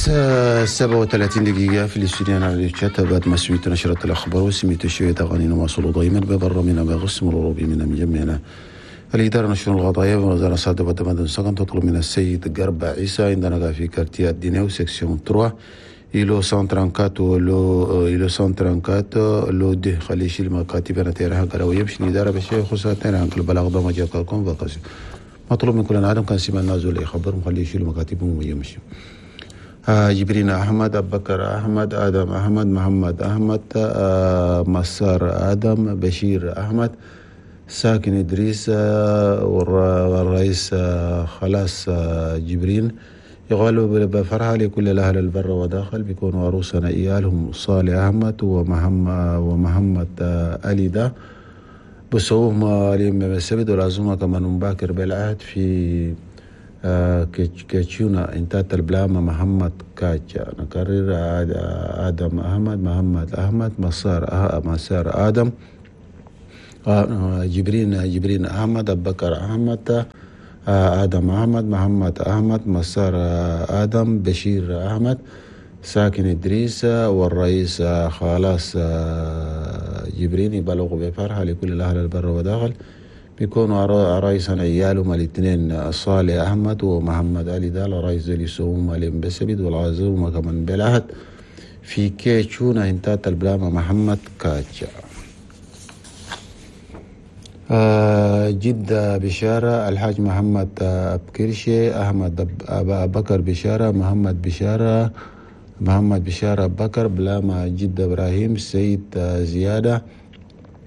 7:37 دقيقة في الاستوديو على الشات. بعد ما سمعت نشرة الأخبار وسمعت شوية أغاني نواصل دائما ببر من بغسم الروبي من مجمعنا الإدارة نشر الغضايا وزارة صادة ودمدن سكن تطلب من السيد قرب عيسى عندنا في quartier دينيو section 3 îlot 134 lot îlot 134 lot deux خلي يشيل مكاتب انا تيرها قالوا يمشي الإدارة بشيء خصوصا تيرها البلاغ ده ما جاء convocation مطلوب من كل عالم كان سيما النازل يخبرهم خليه يشيلوا مكاتبهم ويمشي. جبرين أحمد، أبو بكر أحمد، آدم أحمد، محمد أحمد، مسار آدم، بشير أحمد، ساكن إدريس، والرئيس خلاص جبرين. يغالوا بفرحة لكل الأهل البر وداخل بيكونوا عروسنا إيالهم صالح أحمد ومحمد علي ده بسوهم اليوم السبت والعزومة كمان مباكر بالعهد في كيتشونا انتات البلامة محمد كاتشا. نكرر آدم أحمد، محمد أحمد، مسار آدم، جبرين أحمد، أبو بكر أحمد، آدم أحمد، محمد أحمد، مسار آدم، بشير أحمد، ساكن إدريس، والرئيس خلاص جبرين. يبلغوا بفرحة لكل الأهل البر وداخل بيكونوا رئيسنا عيالهم الاثنين صالح أحمد ومحمد علي دال رئيس اللي يسوهم عليهم بسبيد والعزومة كمان بالعهد في كيتشونا انتات البلامة محمد كاتشا. جدة بشارة، الحاج محمد أبكرشي، أحمد بكر بشارة، محمد بشارة، محمد بشارة بكر، بلامة جدة إبراهيم، سيد زيادة،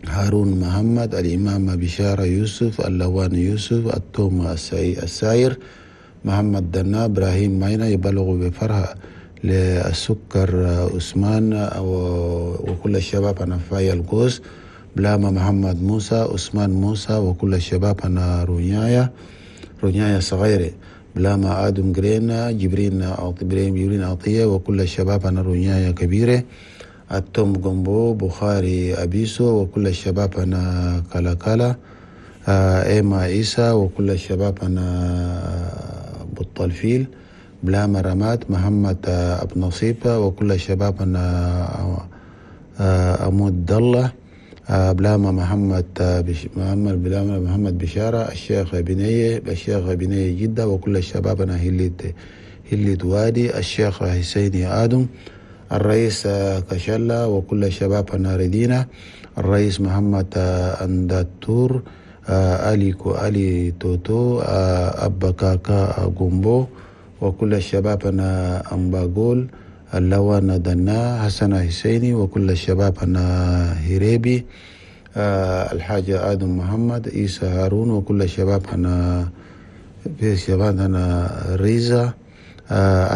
هارون محمد، الإمام بشارة يوسف، اللوان يوسف، التوم الساير، محمد دنا، إبراهيم ماينا. يبلغوا بفرحة للسكر عثمان وكل الشباب أنا فاي القوس، بلاما محمد موسى، عثمان موسى وكل الشباب أنا رونيايا صغيرة، بلاما آدم جرينا، جبرين عطية وكل الشباب أنا رونيايا كبيرة، التوم جنبو، بخاري أبيسو وكل الشباب أنا كالا، إيما عيسى وكل الشباب أنا بطلفيل، بلاما رماد، محمد أبو نصيبة وكل الشباب أنا أمود دلة، بلاما محمد بلاما محمد بشارة، الشيخ بنية جدة وكل الشباب أنا هليت وادي، الشيخ حسيني آدم، الرئيس كشلة وكل الشباب أنا ردينا، الرئيس محمد أنداتور، علي توتو، أبا كاكا جومبو وكل الشباب أنا أمباغول، اللوان دنا، حسن حسيني وكل الشباب أنا هريبي، الحاج آدم محمد، عيسى هارون وكل الشباب أنا في الشباب أنا ريزا،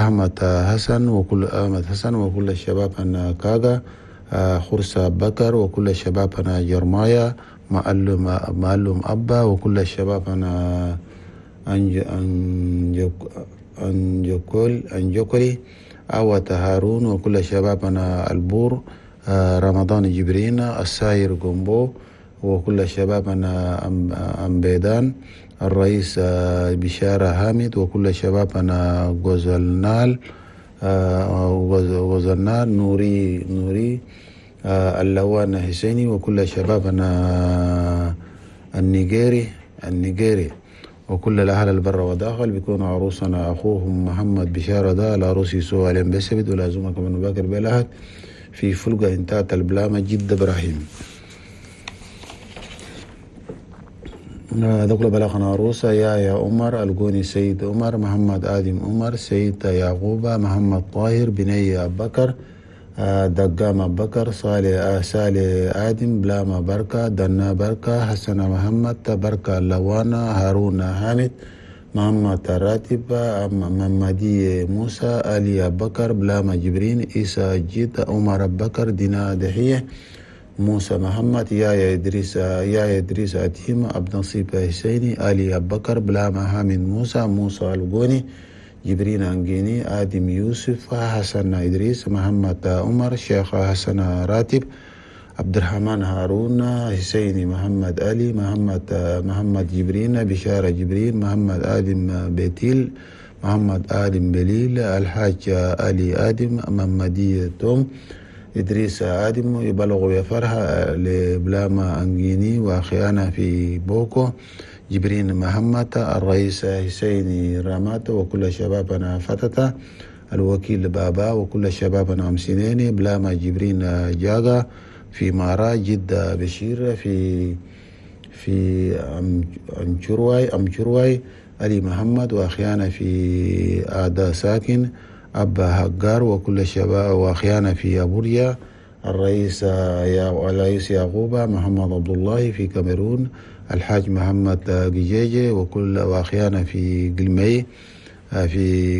أحمد حسن وكل أحمد حسن وكل الشباب أنا كاغا، خرسة بكر وكل الشباب أنا جرمايا، معلم أبا وكل الشباب أنا أنجوكولي، أوت هارون وكل الشباب أنا البور، رمضان جبرين، الساير جومبو وكل الشباب أنا أمبيدان، الرئيس بشارة حامد وكل الشباب أنا غزلنال، نوري، اللوان حسيني وكل الشباب أنا النيجيري وكل الأهل البر وداخل بيكونوا عروسنا أخوهم محمد بشارة ده العروس يسوع عليهم بسبت ولازمة كمان باكر بلهت في فلقة انتات البلامة جد إبراهيم. دخل بلغنا عروسة يا عمر الجوني، سيد عمر، محمد آدم عمر، سيد يعقوب، محمد طاهر، بني أبو بكر، دقام أبو بكر، صالح آدم، بلاما بركة، دنا بركة، حسن محمد بركة، لوانا، هارون حامد، محمد راتب، محمدي موسى، علي أبو بكر، بلاما جبرين، عيسى جيت، عمر أبو بكر، دينا دحية، موسى محمد، يا إدريس أتيم، أبو نصيب حسيني، علي أبو بكر، بلاما حامد موسى، موسى الجوني، جبرين أنجيني، آدم يوسف، حسن إدريس، محمد عمر، شيخ حسن راتب، عبد الرحمن هارون، حسيني محمد علي، محمد جبرين، بشارة جبرين، محمد آدم بيتيل، محمد آدم بليل، الحاج علي آدم، محمدية توم، إدريس آدم. يبلغ بفرحة لبلاما أنجيني وأخيانا في بوكو، جبرين محمد، الرئيس حسين رامات وكل شبابنا فتتا، الوكيل بابا وكل شبابنا أمسينيني، بلاما جبرين جاغا في مارا، جدة بشير في أمشرواي، علي محمد وأخيانا في آدا ساكن، أبا هجار وكل الشباب وأخيانا في أبوريا، الرئيس يعقوب محمد عبد الله في كاميرون، الحاج محمد جيجي وكل وأخيانا في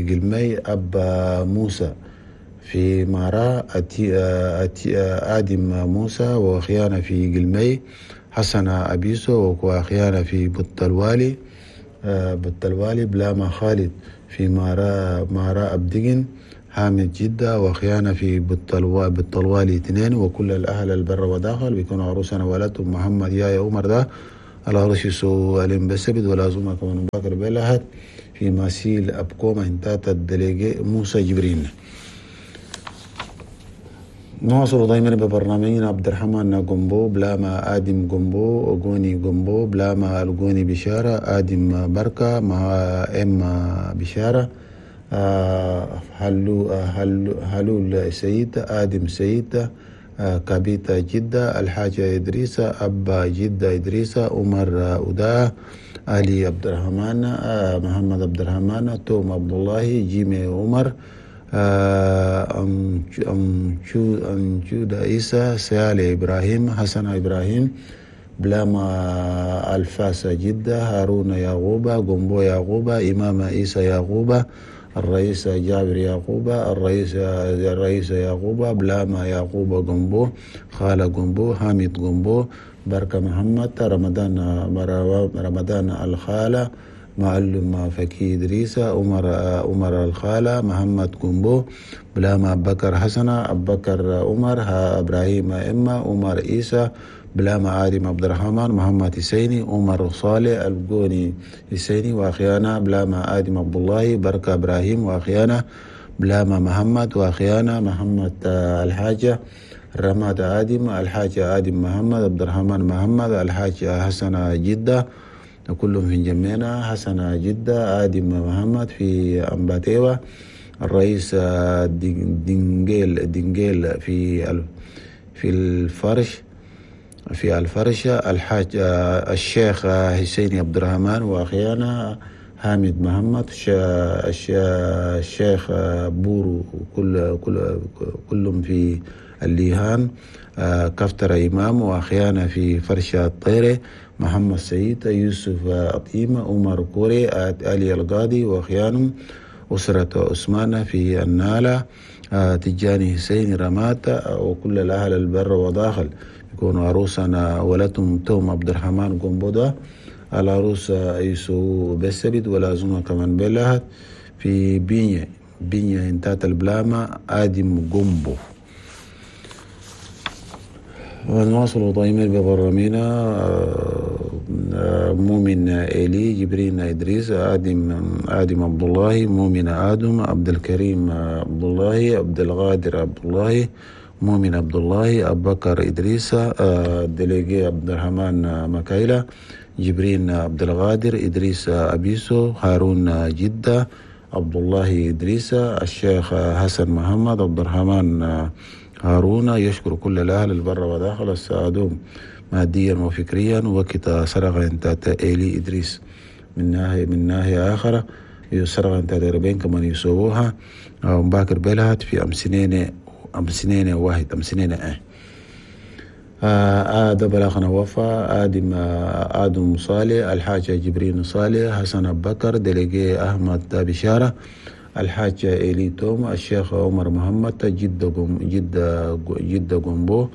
قلمي، أبا موسى في مارا، آدم موسى وأخيانا في قلمي، حسن أبيسو وأخيانا في بطلوالي، بلاما خالد في مارا أبدقن، حامد جدة وأخيانا في بالطلوالي 2، وكل الأهل البر وداخل بيكونوا عروسنا ولدهم محمد يا عمر ده العروس يسو ألم بسبد ولا زوما كمان باكر بلهت في ماسيل أبكوما انتات الدليجي موسى جبرين. نواصل دائما ببرنامجنا عبد الرحمن جومبو، بلاما آدم جومبو، غوني جومبو، بلاما الغوني بشارة، آدم بركة مع إم بشارة، هلول سيد، آدم سيد، كابيتا جدة، الحاجة إدريسة، أبا جدة إدريسة، عمر أودا، علي عبد الرحمن، محمد عبد الرحمن، توم عبد الله، جيمي عمر، أمجود عيسى، سيالي إبراهيم، حسن إبراهيم، بلاما الفاس جدة، هارون يعقوبة، جومبو يعقوبة، إمام عيسى يعقوبة، الرئيس جابر يعقوبة، الرئيس يعقوبة، بلاما يعقوبة جومبو، خالة جومبو، حامد جومبو، بركة محمد، رمضان الخالة، معلم فكي إدريس، عمر الخالة، محمد جومبو، بلاما بكر حسنة، بكر عمر، إبراهيم إما، عمر عيسى، بلاما آدم عبد الرحمن، محمد حسيني، عمر صالح، الجوني حسيني، وأخيانا بلاما آدم عبد الله، بركة إبراهيم، وأخيانا بلاما محمد، وأخيانا محمد الحاجة، رماد آدم، الحاجة آدم محمد، عبد الرحمن محمد، الحاجة حسن جدة، كلهم في جمينا، حسن جدة، آدم محمد في أمباتيوة، الرئيس دينجيل في الفرش، في الفرشة، الحاج الشيخ حسين عبد الرحمن، وأخيانا حامد محمد، الشيخ بورو، كلهم في الليهان، كفتر إمام، وأخيانا في فرشة الطيرة، محمد سعيد، يوسف أطيمة، عمر كوري، علي القاضي، وأخيانهم أسرة عثمان في النالة، تجاني حسين رماتا، وكل الأهل البر وداخل يكونوا عروسنا ولدهم توم عبد الرحمن قنبودة، العروس يسو بسبت ولازمها كمان بلهت في بينيا انتات البلامة آدم قنبو. ونواصل دائما ببرامينا مؤمن إيلي، جبرين إدريس، آدم عبد الله، مؤمن آدم، عبد الكريم عبد الله، عبد الغادر عبد الله، مؤمن عبد الله، أبو بكر إدريس، دليجي عبد الرحمن مكايلة، جبرين عبد الغادر، إدريس أبيسو، هارون جدة، عبد الله إدريس، الشيخ حسن محمد، عبد الرحمن هارون. يشكر كل الأهل البر وداخل السعادوم ماديا وفكريا. وكتا سرغ انت إيلي إدريس من ناحية آخرى يسرغ انت ربين كمان يسووها مباكر بلهت في أمسنين واحد أمسنين آدم بلاغنا وفا، آدم صالح، الحاج جبرين صالح، حسن أبو بكر، دليجي أحمد بشارة، الحاج إيلي توم، الشيخ عمر محمد، جدة جومبو،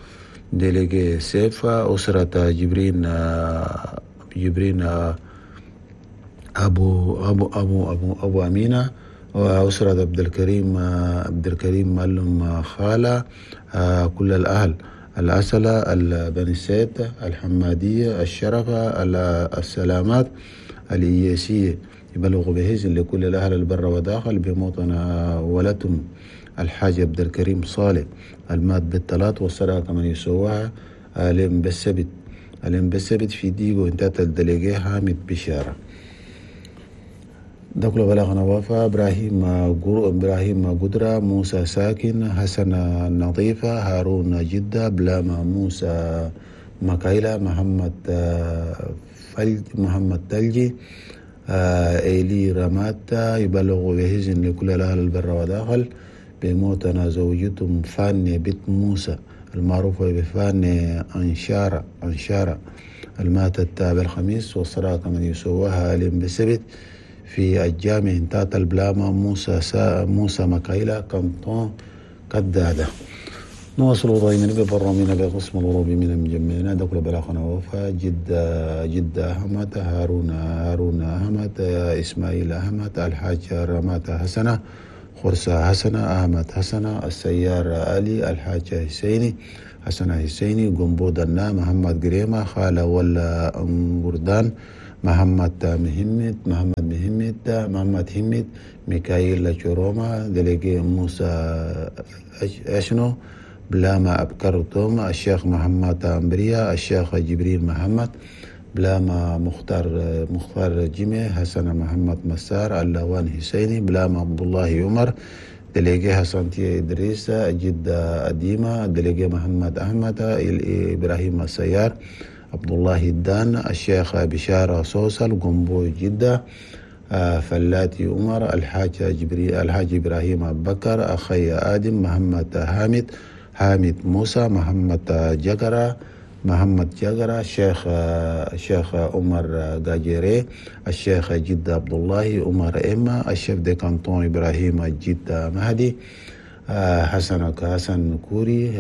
دليجي سيف، أسرة جبرين أبو أبو أبو أبو أبو أمينة، وأسرة عبد الكريم معلم خالة، كل الأهل الأسلة، البني سيد، الحمادية، الشرفة، السلامات، الإياسية، يبلغ بهزن لكل الأهل البر وداخل بموطن ولتم الحاج عبد الكريم صالح المات بالثلاث، والصلاة كمان يسواها ألم بالسبت، ألم بالسبت في ديغو انتات الدليجي حامد بشارة. دخل بلاغنا وفا إبراهيم قدرة، موسى ساكن، حسن نظيفة، هارون جدة، بلاما موسى مكايلة، محمد فلج، محمد تلجي، إيلي رماتا. يبلغ بهزن لكل الأهل البر وداخل بموتنا زوجتهم فاني بنت موسى المعروفة بفاني أنشارة الماتت بالخميس، والصلاة كمن يسواها اليوم بالسبت في الجامع انتات البلاما موسى مكايلة كنطون كدادة. نواصل دائما ببرامجنا بقسم الغروبي من المجمعين. دخل بلاغنا وفا جدة أحمد، هارون أحمد، إسماعيل أحمد، الحاج رمات حسنة، خرسة حسنة، أحمد حسنة، السيار علي، الحاج حسيني، حسن حسيني، قنبو دنا، محمد قريمة، خالة ولا أنقردان، محمد مهمت، محمد همت، ميكائيل شروما، دليجي موسى أشنو، بلاما أبكر توما، الشيخ محمد أمبريا، الشيخ جبريل محمد، بلاما مختار جيمي، حسن محمد مسار، اللوان حسيني، بلاما عبد الله عمر، دليجي حسن تي إدريس، جدة أديمة، دليجي محمد أحمد، إبراهيم السيار، عبد الله الدان، الشيخ بشارة صوصل، قنبو جدة، فلاتي عمر، الحاج إبراهيم أبو بكر، أخي آدم، محمد حامد، حامد موسى، محمد جقرة، الشيخ عمر غاجيري، الشيخ جدة عبد الله عمر إما، الشيف دي كانتون إبراهيم جدة مهدي، حسن كوري،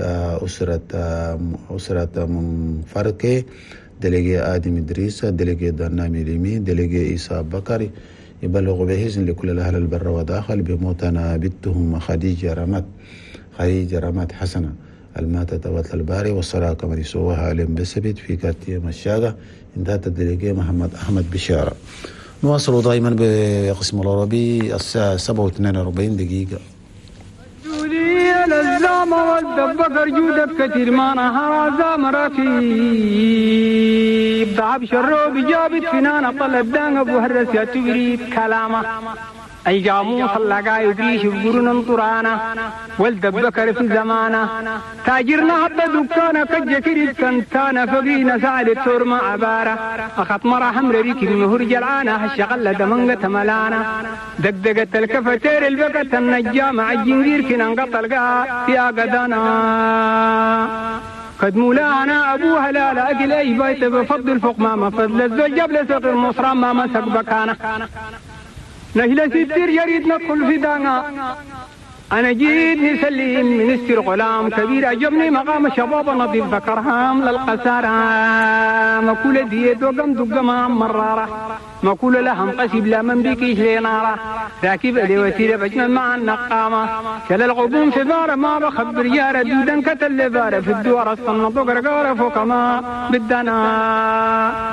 أسرة منفركي، دليجي آدم إدريس، دليجي دنامي ليمي، دليجي إيسا بكري. يبلغ بهزن لكل الأهل البر وداخل بموتنا بنتهم خديجة رمات حسنة الماتت وتل الباري، والصلاة كما يسوها اليوم بالسبت في كارتيه مشاقة انتهت الدليجي محمد أحمد بشارة. نواصل دائما بقسم العربي الساعة 7:42. الزامة والدبكر جودك كثير ما نهار زام ركيب ضعب شروب جابت فنانة طلب دان أبو هرس يا تبريد كلامه أي جاموس اللقا يدريش بقرن طرانا والدبكر في زمانه تاجرنا حتى دكانا كجكري كنتانا فقينا سعد التور ما عبارة أخط مرة حمر ريك المهر جلعانة هالشغلة دمنقة ملانا دقدقة الكفتير البقة النجام عالجنجير كنا انقطع يا قدانا قد مولانا أبوها لا لا أكل أي بيت بفضل فوق ما فضل الزوج جبل سوق المصرى ما مسك بكانا نهلا ستير يريد ندخل في دانا أنا جيت نسلم منستر غلام كبير عجبني مقام شباب نظيف ذكرهام للقسارة مكولة ديت وقم دقما مرارة مكولة لهم قسب لا من بكيش لنارة راكب لي وسيلة بجمل مع النقامة كلا الغبوم في بارة ما بخبر يارة دودا كتل بارة في الدوار الصنط وقرقارة فوق ما بدنا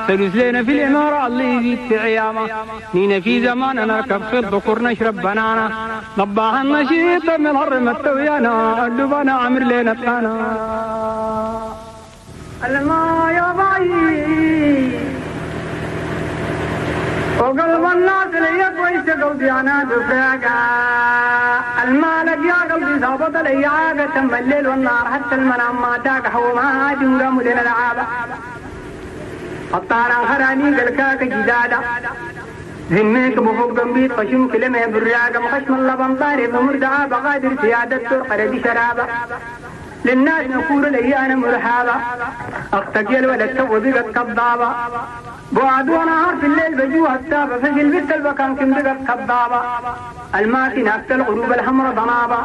سلوس لنا في الإمارة الله يزيد في عيامة نينا في زمان نركب في الذكور نشرب بنانا ضباها النشيط من هرم التويانا اللبانا عمر لنا الثانا الما يا باي وقلب الناس لي كويس قلبي انا دفاقا المالك يا قلبي ظابط لي عاقة تم الليل والنهار حتى المنام ما تاك حوما جنقام لنا العابة الطارة خراني قلكاك جدادا ذميك بفوق ضمبيت خشم كلمة براقة مخشم اللبن ضارب مردعة بقادر سيادة ترقر بشرابة للناس نقول لي أنا مرحابة أختك يا الولد تو بقت كضابة بعد ونهار في الليل بجوها التابة فجل بنت البكان كم بقت كضابة الماكنة الغروب الحمر ضنابة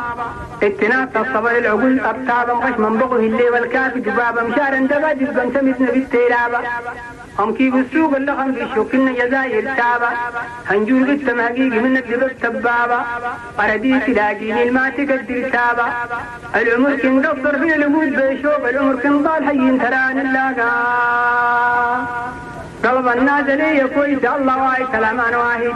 اتنات الصبر العقول أبتابة مخشم بغه الليل والكافي دبابة مشارا دبا دبا سمتنا بالتيلابة أم كيف السوق اللغم في شوكنا جزائر تابة هنجور قد مهقيق منك لبك تبابة أرديت لاقيني الما تقدر تابة العمر كن قصر في الوجود بيشوف العمر كن ضال حي تران اللاقا. قلب النازلية كويس الله واي كلام أنا واحد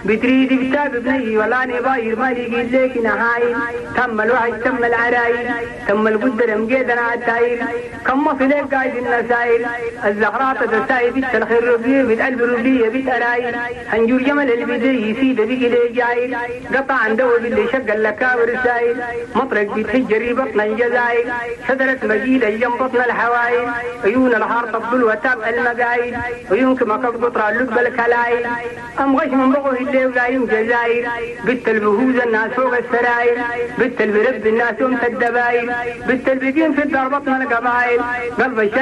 بتريد كتاب بني ولا نباير ما لقيت لك نهايل تم الوحش تم العرايل تم القدر مقيدنا عالتايل كم وصل لك قايد النسايل الزهرات تساي بيت الخير ربية بيت قلب ربية بيت أرايل هنجور جمل البدي يسيد بيجي لي جايل قطع عن دو باللي شق اللكاور السايل مطرق بيتهجري بطن الجزايل شجرة مجيلة جنب بطن الحوايل عيون الحار تبدل وتاب المقايل عيونك ما قطر اللب الكلايل أم غش من بغوه الليل ولايم جزايل بت البهوز الناس فوق السرايل بت البرب الناس يوم الدبايل بت البقين في الدار بطن القبايل قلب